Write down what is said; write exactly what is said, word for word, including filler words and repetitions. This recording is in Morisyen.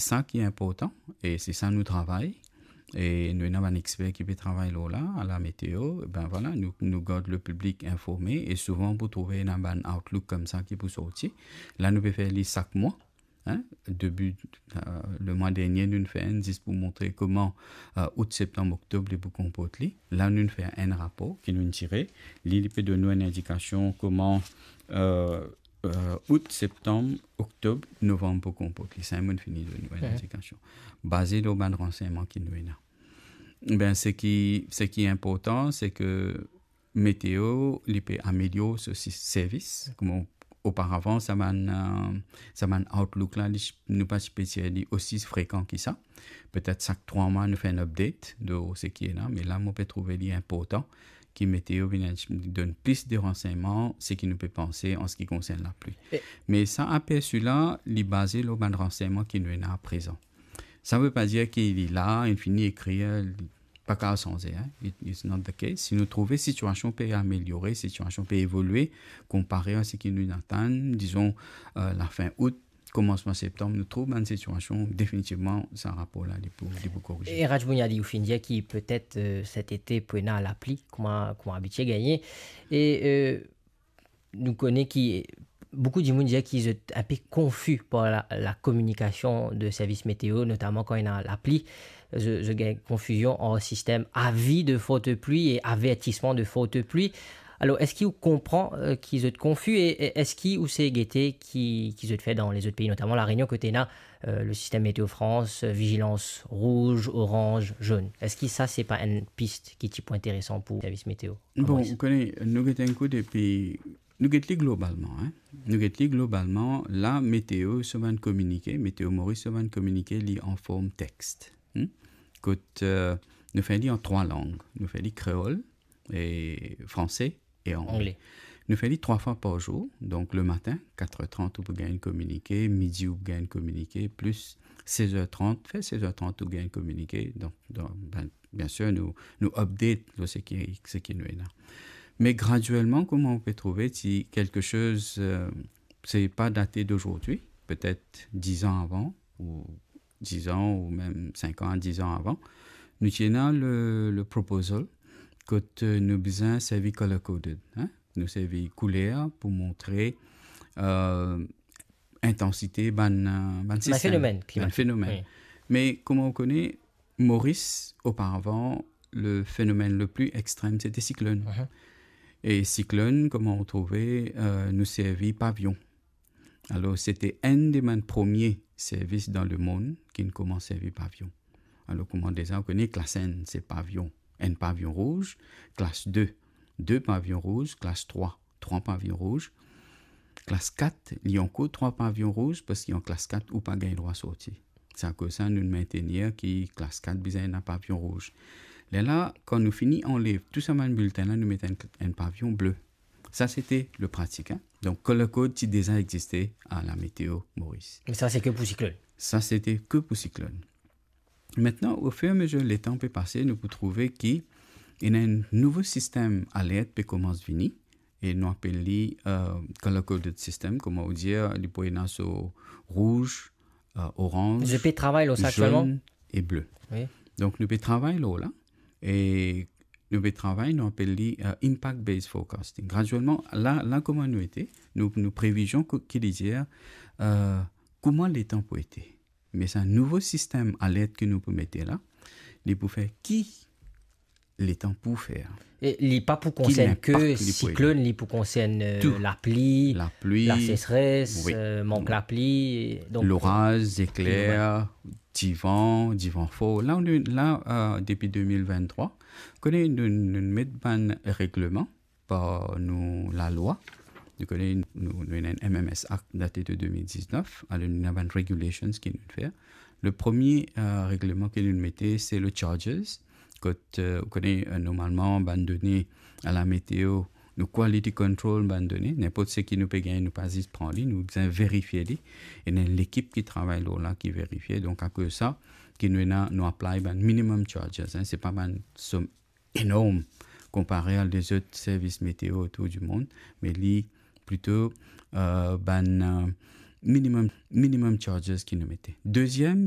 Sa ki inportan, e se sa nou travay, e nou ena bann exper ki pe travay lor la, a la meteo, ben vwala, nou, nou gard le piblik informe, e souvan pou trouve ena bann outlook koumsa ki pou sorti. La, nou pe fer li sak mwa, hein, debi, euh, lemwa dernie, nou fer enn, zis pou montre kouma, euh, out, septanm, oktob, li pou konport li. La, nou fer enn rapor ki nou tire. Li, li pe donn nou enn indikasion kouma, euh, euh, out, septanm, oktob, novanm pou konport li. Sa, mo'nn fini donn nou enn indikasion. Baze lor bann ransegnman ki nou ena. Ben, seki, seki inportan, se ke meteo, li pe amelior so si-, servis. Kouma oparavan, sa bann, euh, sa bann outlook la, li, nou pa ti pe tir li osi frekan ki sa. Petet sak trwa mwa, nou fer enn update de seki ena, me la, mo pe trouve li inportan ki meteo vinn donn plis de ransegnman, seki nou pe panse an seki konsern lapli. E- Me sa apersi la, li baze lor bann ransegnman ki nou ena aprezan. Sa ve pa dir ki li la, li fini ekrir, li pa kapav sanze, hein. It, it's not the case. Si nou trouve sitiasion pe ameliore, sitiasion pe evolie, konpare a seki nou atann, dizon, euh, lafin out, komansman septanm, nou trouv bann sitiasion, definitivman, sa rapor la, li pou, li pou korize. E Raj Bouniadi, ou finn dir ki petet, euh, set ete pou ena lapli, kouma, kouma abitie gagne. E, euh, nou kone ki boukou dimoun dir ki zot inpe konfi par la, la kominikasion de servis meteo, notaman kan ena lapli, zot, zot gagn konfizion ant sistem avi de forte pli e avertisman de forte pli. Alor, eski ou konpran, euh, ki zot konfi e, e eski ou se gete ki, ki zot fer dan lezot pei, notaman La Rényon, kot ena, euh, le sistem Météo France, euh, vizilans rouz, oranz, zonn? Eski sa, se pa enn pis ki ti pou interesan pou servis meteo? Bon, Moris, ou kone, nou get enn kou depi, nou get li globalman, hein. Nou get li globalman, la, meteo, so bann kominike, Météo Maurice, so bann kominike, li an form text. Hmm? Kot, euh, nou fer li an trwa lang. Nou fer li kreol, e franse e angle. Angle. Nou fer li trwa fwa par zour. Donk, le matin, kat er trant, ou pou gagn enn kominike, midi, ou pou gagn enn kominike, plis sez er trant, fer sez er trant, ou gagn enn kominike. Donk, donk, ben, biensir, nou, nou update lor seki, seki nou ena. Me gradielman, kouma ou pe trouve, si kelke soz, euh, se pa date d'aujourd'hui, petet diz an avan, ou diz an, ou mem sink an, diz an avan, nou ti ena le, le proposal kot, euh, nou bizin servi color coded, hein? Nou servi kouler pou montre, euh, intansite bann, euh, bann sistem, fenomenn klimatik, bann fenomenn. Wi. Me kouma ou kone, Moris, oparavan, le fenomenn le pli extrem, sete siklonn. Mhm. E siklonn, kouma ou trouve, euh, nou servi pavion. Alor, sete enn de bann premie servis dan lemonn ki'nn koumans servi pavion. Alor, kouma deza ou kone, klas enn, se pavion, enn pavion rouz, klas de, de pavion rouz, klas trwa, trwa pavion rouz, klas kat, li ankor trwa pavion rouz, parski an klas kat, ou pa gagn drwa sorti. Se akoz sa, nou mintenir ki klas kat bizin ena pavion rouz. Lerla, kan nou fini anlev tou sa bann biltin la, nou met enn, enn pavion ble. Sa, sete le pratik, hein. Donk, color code ti deza existe a la Météo Maurice. Me sa, se ke pou siklonn? Sa, sete ke pou siklonn. Aster, o fir e a mezir letan pe pase, nou pou trouve ki ena enn nouvo sistem alert pe koumans vini, e nou apel li, euh, color coded system, kouma ou dir, li pou ena so rouz, euh, oranz, zonn e ble. Zot pe travay lor sa aktielman? Wi. Donk, nou pe travay lor la, e nou pe travay, nou apel li, euh, impact based forecasting. Gradielman, la, la kouma nou ete, nou, nou previzion ki, ki li dir, euh, kouma letan pou ete. Me sa nouvo sistem alert ki nou pou mete la, li pou fer ki letan pou fer. E li pa pou konsern ke siklonn, li pou konsern, euh, lapli, lapli, lasesres, wi, euh, mank lapli, donk, loraz, zekler, divan, divan for. La, nou, la, euh, depi de mil venntrwa, kone nou, nou met bann regleman par nou lalwa. Nou kone nou, nou ena enn M M S Act date de de mil diznef, alor nou ena bann regulations ki nou fer. Le premie, euh, regleman ki nou mete, se le charges. Kot, euh, ou kone, euh, normalman, bann done a la meteo, nou quality control bann done, ninport seki nou pe gagn, nou pa zis pran li, nou bizin verifie li. Ena enn lekip ki travay lor la, ki verifie. Donk, akoz sa, ki nou ena, nou apply bann minimum charges, hein, se pa bann som enorm konpare a lezot servis meteo otour di mond, me li plito, euh, bann, euh, minimum, minimum charges ki nou mete. Deziem,